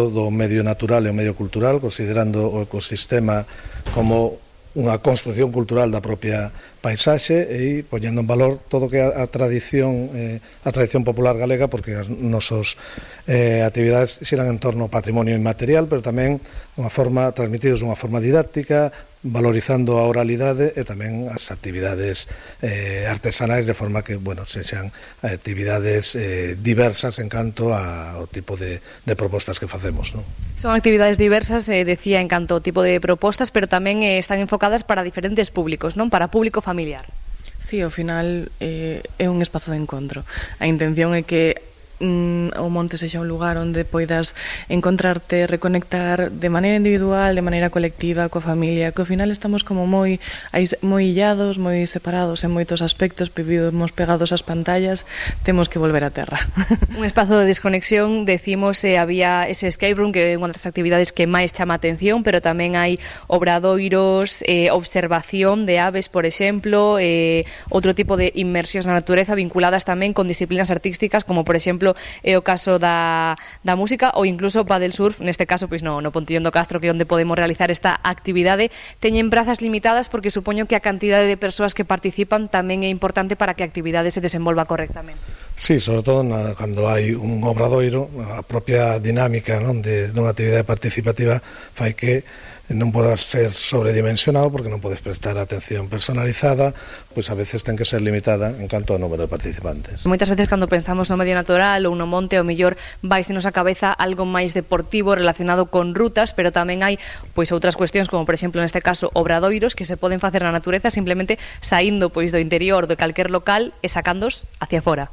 do medio natural e o medio cultural, considerando o ecosistema como unha construción cultural da propia paisaxe e poñendo en valor todo o que é a tradición popular galega, porque as nosas actividades xiran en torno ao patrimonio inmaterial, pero tamén transmitidos dunha forma didáctica, valorizando a oralidade e tamén as actividades artesanais, de forma que, sexan actividades diversas en canto ao tipo de propostas que facemos, non? Son actividades diversas, decía, en canto ao tipo de propostas, pero tamén están enfocadas para diferentes públicos, non? Para público familiar. Sí, ao final é un espazo de encontro. A intención é que o monte sexa un lugar onde poidas encontrarte, reconectar de maneira individual, de maneira colectiva, coa familia, que ao final estamos como moi illados, moi separados en moitos aspectos, vivimos pegados ás pantallas, temos que volver á terra. Un espazo de desconexión, decimos, había ese escape room, que é unha das actividades que máis chama a atención, pero tamén hai obradoiros, observación de aves, por exemplo, outro tipo de inmersións na natureza vinculadas tamén con disciplinas artísticas, como por exemplo é o caso da música ou incluso paddle surf, neste caso pois no Pontillón do Castro, que é onde podemos realizar esta actividade. Teñen prazas limitadas porque supoño que a cantidade de persoas que participan tamén é importante para que a actividade se desenvolva correctamente. Sí, sobre todo cando hai un obradoiro, a propia dinámica, non, dunha actividade participativa fai que non podas ser sobredimensionado, porque non podes prestar atención personalizada, pois a veces ten que ser limitada en canto ao número de participantes. Moitas veces cando pensamos no medio natural ou no monte, ao mellor vaisnos a cabeza algo máis deportivo relacionado con rutas, pero tamén hai pois outras cuestións, como por exemplo neste caso obradoiros, que se poden facer na natureza simplemente saindo pois do interior de calquer local e sacándos hacia fora.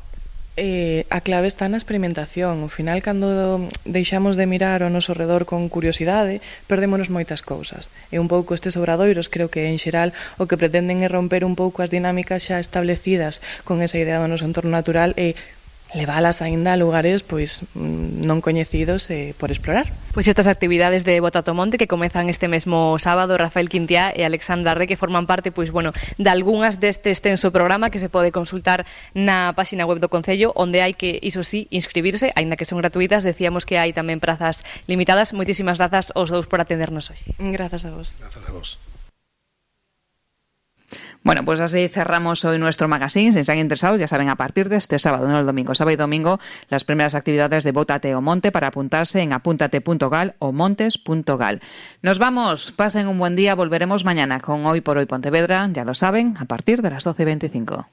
A clave está na experimentación. Ao final, cando deixamos de mirar ao noso redor con curiosidade, perdémonos moitas cousas. E un pouco estes obradoiros, creo que en xeral o que pretenden é romper un pouco as dinámicas xa establecidas con esa idea do noso entorno natural e leválas aínda a lugares pois non coñecidos por explorar. Pois estas actividades de Botatomonte que comezan este mesmo sábado, Rafael Quintiá e Alexandra Re, que forman parte de algunhas deste extenso programa que se pode consultar na páxina web do Concello, onde hai que, iso sí, inscribirse, aínda que son gratuitas. Decíamos que hai tamén prazas limitadas. Moitísimas grazas aos dous por atendernos hoxe. Grazas a vos. Grazas a vos. Bueno, pues así cerramos hoy nuestro magazine. Si están interesados, ya saben, a partir de este sábado, no el domingo, sábado y domingo, las primeras actividades de Bótate o Monte para apuntarse en apúntate.gal o montes.gal. Nos vamos, pasen un buen día, volveremos mañana con Hoy por Hoy Pontevedra, ya lo saben, a partir de las 12:25.